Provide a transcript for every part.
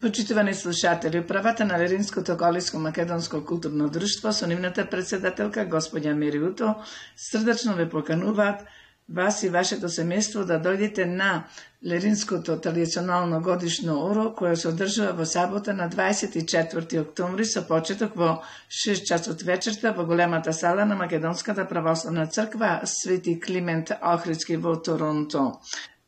Почитувани слушатели, управата на Леринското галичко-македонско културно друштво со нивната председателка господја Мери Уто срдачно ве покануваат вас и вашето семејство да дојдете на Леринското традиционално годишно оро кое се одржува во сабота на 24 октомври со почеток во 6 часот вечерта во големата сала на Македонската православна црква Свети Климент Охридски во Торонто.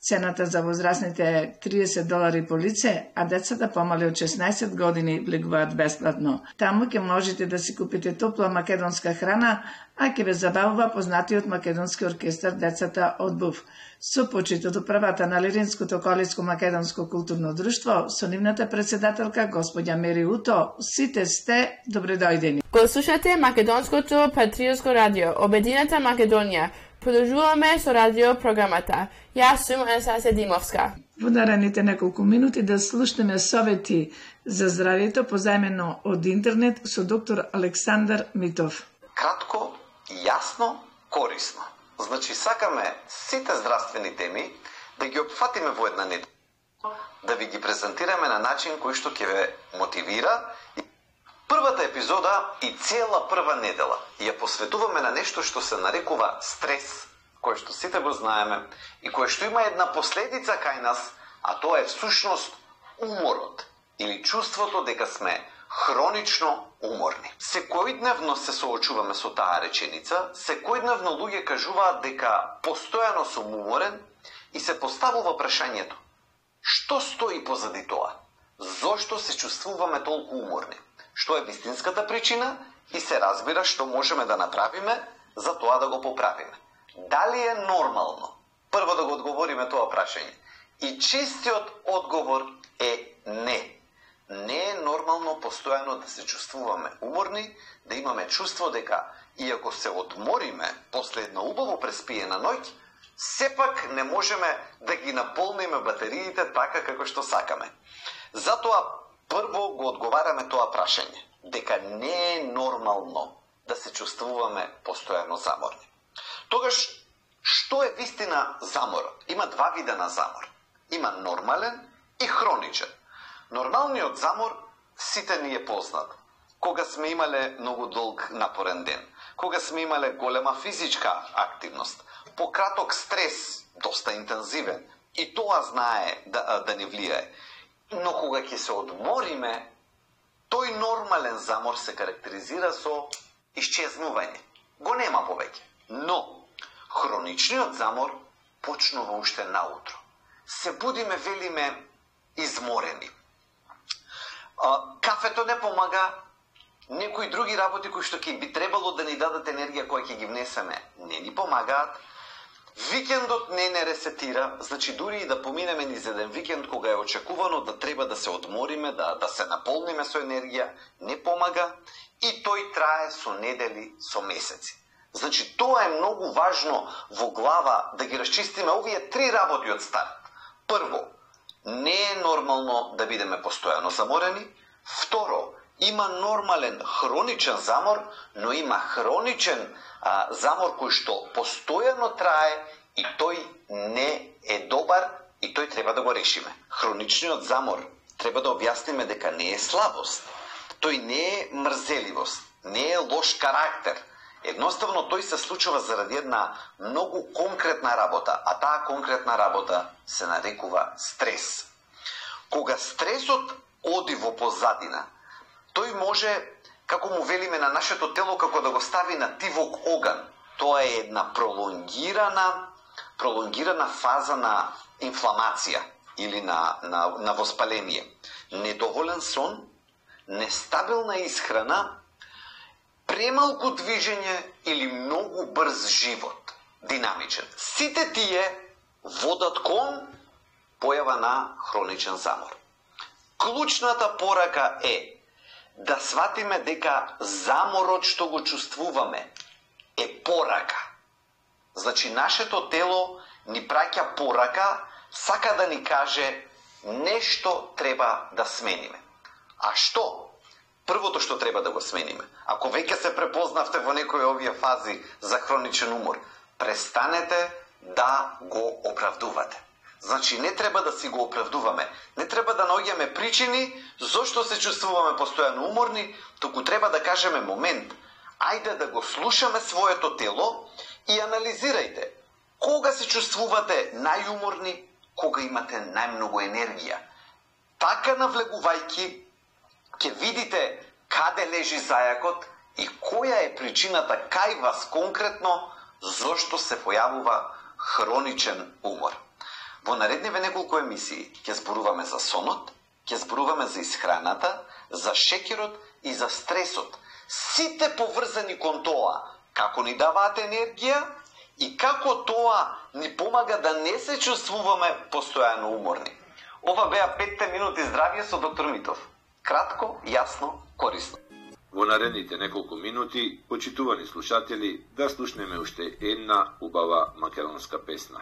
Цената за возрастните е $30 по лице, а децата помали од 16 години влегуваат бесплатно. Таму ќе можете да си купите топла македонска храна, а ќе ве забавува познатиот македонски оркестар Децата од Був. Со почит од управата на Леринското галичко-македонско културно друштво, со нивната председателка господја Мери Уто, сите сте добредојдени. Го слушате Македонското патриотско радио, Обединета Македонија. Продолжуваме со радио програмата. Јас сум Анастасија Димовска. Во наредните неколку минути да слушнеме совети за здравјето позајмено од интернет со доктор Александар Митов. Кратко, јасно, корисно. Значи, сакаме сите здравствени теми да ги опфатиме во една недела, да ви ги презентираме на начин кој што ќе ве мотивира. Првата епизода и цела прва недела ја посветуваме на нешто што се нарекува стрес, кој што сите го знаеме и кој што има една последица кај нас, а тоа е всушност уморот или чувството дека сме хронично уморни. Секојдневно се соочуваме со таа реченица, секојдневно луѓе кажуваат дека постојано сум уморен и се поставува прашањето: што стои позади тоа? Зошто се чувствуваме толку уморни? Што е вистинската причина и се разбира што можеме да направиме за тоа да го поправиме. Дали е нормално? Прво да го одговориме тоа прашање. И честиот одговор е не. Не е нормално постојано да се чувствуваме уморни, да имаме чувство дека иако се одмориме после една убаво преспиена ноќ, сепак не можеме да ги наполниме батериите така како што сакаме. Затоа прво го одговараме тоа прашање, дека не е нормално да се чувствуваме постојано заморни. Тогаш, што е вистина заморот? Има два вида на замор. Има нормален и хроничен. Нормалниот замор сите ни е познат. Кога сме имале многу долг напорен ден, кога сме имале голема физичка активност, пократок стрес, доста интензивен, и тоа знае да ни влијае. Но кога ќе се одмориме, тој нормален замор се карактеризира со исчезнување. Го нема повеќе. Но хроничниот замор почнува уште наутро. Се будиме, велиме, изморени. Кафето не помага, некои други работи кои што ќе би требало да ни дадат енергија која ќе ги внесеме, не ни помагаат. Викендот не ресетира, значи дури и да поминеме низ еден викенд кога е очекувано да треба да се одмориме, да се наполниме со енергија, не помага и тој трае со недели, со месеци. Значи тоа е многу важно во глава да ги расчистиме овие три работи од старт. Прво, не е нормално да бидеме постојано заморени. Второ, има нормален хроничен замор, но има хроничен замор кој што постојано трае и тој не е добар и тој треба да го решиме. Хроничниот замор треба да објасниме дека не е слабост. Тој не е мрзеливост, не е лош карактер. Едноставно тој се случува заради една многу конкретна работа, а таа конкретна работа се нарекува стрес. Кога стресот оди во позадина, тој може, како му велиме на нашето тело, како да го стави на тивок оган. Тоа е една пролонгирана фаза на инфламација или на воспаление. Недоволен сон, нестабилна исхрана, премалку движење или многу брз живот, динамичен. Сите тие водат кон појава на хроничен замор. Клучната порака е да сватиме дека заморот што го чувствуваме е порака. Значи, нашето тело ни праќа порака, сака да ни каже нешто треба да смениме. А што? Првото што треба да го смениме, ако веќе се препознавте во некои овие фази за хроничен умор, престанете да го оправдувате. Значи, не треба да си го оправдуваме. Не треба да наоѓаме причини зошто се чувствуваме постојано уморни, туку треба да кажеме момент. Ајде да го слушаме своето тело и анализирајте. Кога се чувствувате најуморни, кога имате најмногу енергија. Така навлегувајќи, ќе видите каде лежи зајакот и која е причината кај вас конкретно зошто се појавува хроничен умор. Во наредниве неколку емисии ќе зборуваме за сонот, ќе зборуваме за исхраната, за шеќерот и за стресот. Сите поврзани кон тоа, како ни даваат енергија и како тоа ни помага да не се чувствуваме постојано уморни. Ова беа 5 минути здравје со доктор Митов. Кратко, јасно, корисно. Во наредните неколку минути, почитувани слушатели, да слушнеме уште една убава македонска песна.